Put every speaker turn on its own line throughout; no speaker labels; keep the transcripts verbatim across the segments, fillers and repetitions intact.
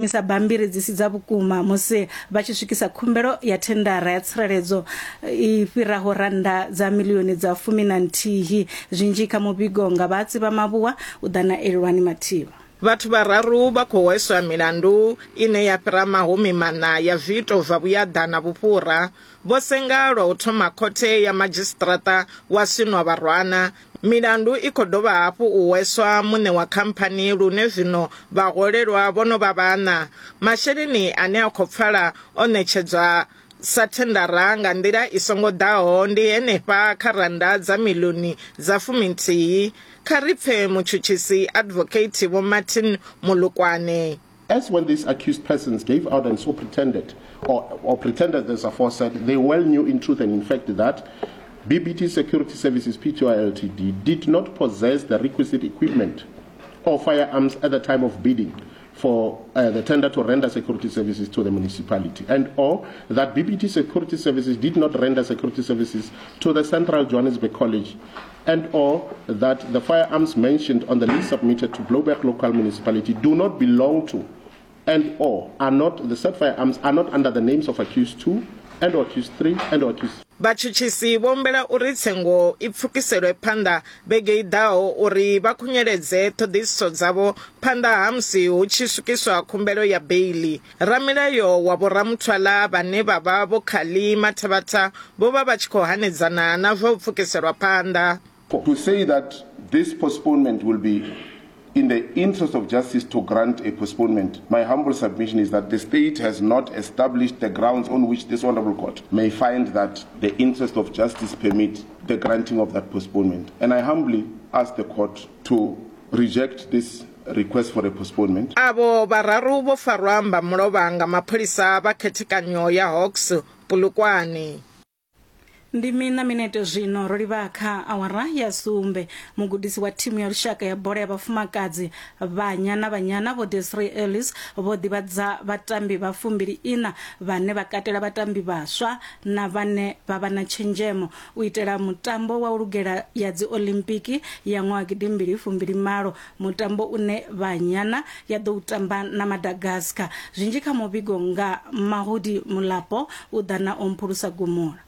Misa bambiri dzi si dza vhukuma musi vha tshi swikisa khumbelo ya thendara ya tsireledzo i fhiraho randa dza milioni dza fumi na nthihi. Zwinzhi kha muvhigo nga vhatsi vha Mavhuwa u ḓa na Elwani Mathivha.
Vhathu vhararu vha khou hweswa milandu ine ya fhira mahumi maṋa ya zwiito zwa vhuyaḓa na vhufhura. Vho senga lwa u thoma khothe ya madzhisiṱiraṱa wa Senwabarwana. Milandu i khou dovha hafhu u hweswa muṋe wa khamphani lune zwino vhahwelelwa vho no vha vhaṋa. Masheleni ane a khou pfala o ṋetshedzwa sa thendara nga nḓila i songo ḓaho ndi henefha kha rannda dza miḽioni dza fuminthihi. Kha ri pfe mutshutshisi Advocate Vho Martin Molokwane.
As when these accused persons gave out and so pretended, or, or pretended as aforesaid, they well knew in truth and in fact that B B T Security Services P T Y L T D did not possess the requisite equipment or firearms at the time of bidding for uh, the tender to render security services to the municipality, and or that B B T Security Services did not render security services to the Central Johannesburg College, and or that the firearms mentioned on the list submitted to Blouberg Local Municipality do not belong to, and or are not, the said firearms are not under the names of accused two, and or accused three, and or accused.
Vhatshutshisi vho humbela uri tsengo i pfukiselwe phanḓa vhege i ḓaho uri vha khunyeledze ṱhoḓisiso dzavho phanḓa ha musi hu tshi swikiswa khumbelo ya beiḽi. Ramilayo wa Vho Ramuthwala vhane vha vha Vho Khali Mathabatha vho vha vha tshi khou hanedzana na zwa u pfukiselwa phanḓa.
To say that this postponement will be in the interest of justice to grant a postponement, my humble submission is that the state has not established the grounds on which this honorable court may find that the interest of justice permit the granting of that postponement. And I humbly ask the court to reject this request for a postponement.
Avo vhararu vho farwa mba mulovha nga mapholisa vha khethekanyo ya Hawks Polokwane.
Ndi mina minete zwino ro livha kha awara ya sumbe. Mugudisi wa thimu ya lushaka ya bola ya vhafumakadzi Banyana Banyana Vho Desiree Ellis vho ḓivhadza vhatambi vha fumbili ina vhane vha katela vhatambi vhaswa na vhane vha vha na tshenzhemo u itela mutambo wa u lugela ya dzi Olimpiki ya ṅwaha gidimbili fumbili malo, mutambo une Banyana ya ḓo u tamba na Madagascar. Zwinzhi kha muvhigo nga Mahudi Mulapo u ḓa na Omphulusa Gumula.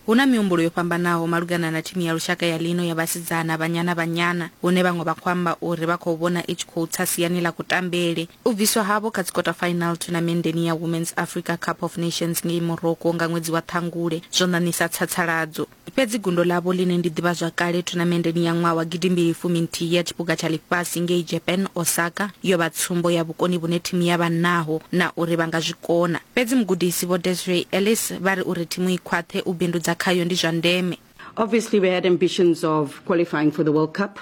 Huna mihumbulo yo fhambanaho malugana na thimu ya lushaka ya lino ya vhasidzana Banyana Banyana, hune vhaṅwe vha khou amba uri vha khou vhona i tshi khou tsa siani ḽa kutambele. U bviswa havho kha dzi quarter final thonamendeni ya Women's Africa Cup of Nations ngei Morocco nga ṅwedzi wa Ṱhangule zwo ṋaṋisa tsatsaladzo. Fhedzi gundo ḽavho ḽine ndi ḓivhazwakale thonamendeni ya ṅwaha wa gidimbili fumi nthihi ya tshiphuga tsha ḽifhasi ngei Japan Osaka yo vha tsumbo ya vhukoni vhune thimu ya vha naho na uri vha nga zwi kona. Fhedzi mugudisi Vho Desiree Ellis vha ri uri thimu i khwaṱhe u bindudza khayo ndi zwa ndeme.
Obviously we had ambitions of qualifying for the World Cup,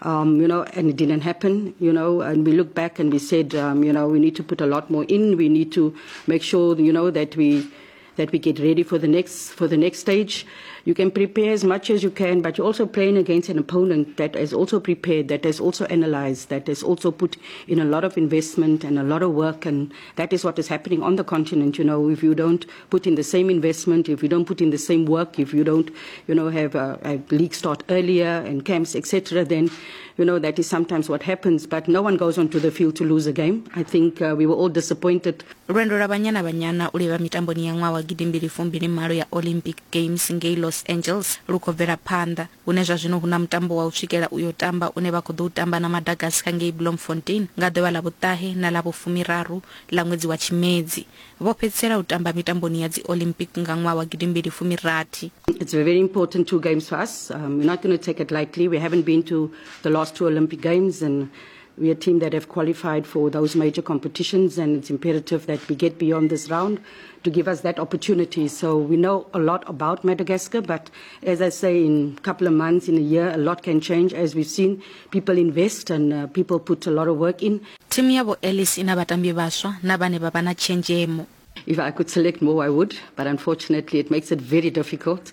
um, you know, and it didn't happen, you know, and we look back and we said, um, you know, we need to put a lot more in. We need to make sure, you know, that we that we get ready for the next for the next stage. You can prepare as much as you can, but you're also playing against an opponent that is also prepared, that has also analyzed, that has also put in a lot of investment and a lot of work, and that is what is happening on the continent. You know, if you don't put in the same investment, if you don't put in the same work, if you don't, you know, have a, a league start earlier and camps, et cetera, then, you know, that is sometimes what happens. But no one goes onto the field to lose a game. I think uh, we were all disappointed.
Lwendo lwa Banyana Banyana u livha mitamboni ya ṅwaha wa gidimbili fumbili malo ya Olympic Games ngei Los Angeles lu khou bvela phanḓa, hune zwa zwino hu na mutambo wa u swikela uyo tamba une vha khou ḓo u tamba na Madagascar ngei Bloemfontein nga ḓuvha ḽa vhuṱahe na ḽa vhufumiraru ḽa ṅwedzi wa Tshimedzi. Vho fhedzisela u tamba mitamboni ya dzi Olympic nga ṅwaha wa gidimbili fumirathi.
It's a very important two games for us. Um, we're not going to take it lightly. We haven't been to the last two Olympic Games, and we are a team that have qualified for those major competitions, and it's imperative that we get beyond this round to give us that opportunity. So we know a lot about Madagascar, but as I say, in a couple of months, in a year, a lot can change. As we've seen, people invest and uh, people put a lot of work in.
Thimu ya Vho Ellis ina vhatambi vhaswa na vhane vha vha na tshenzhemo.
If I could select more, I would, but unfortunately it makes it very difficult.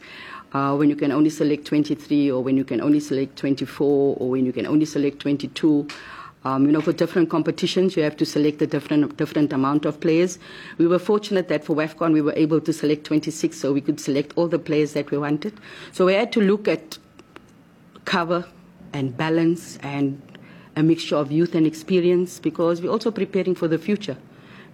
Uh, when you can only select twenty-three, or when you can only select twenty-four, or when you can only select twenty-two. Um, you know, for different competitions, you have to select a different, different amount of players. We were fortunate that for WAFCON, we were able to select twenty-six, so we could select all the players that we wanted. So we had to look at cover and balance and a mixture of youth and experience, because we're also preparing for the future.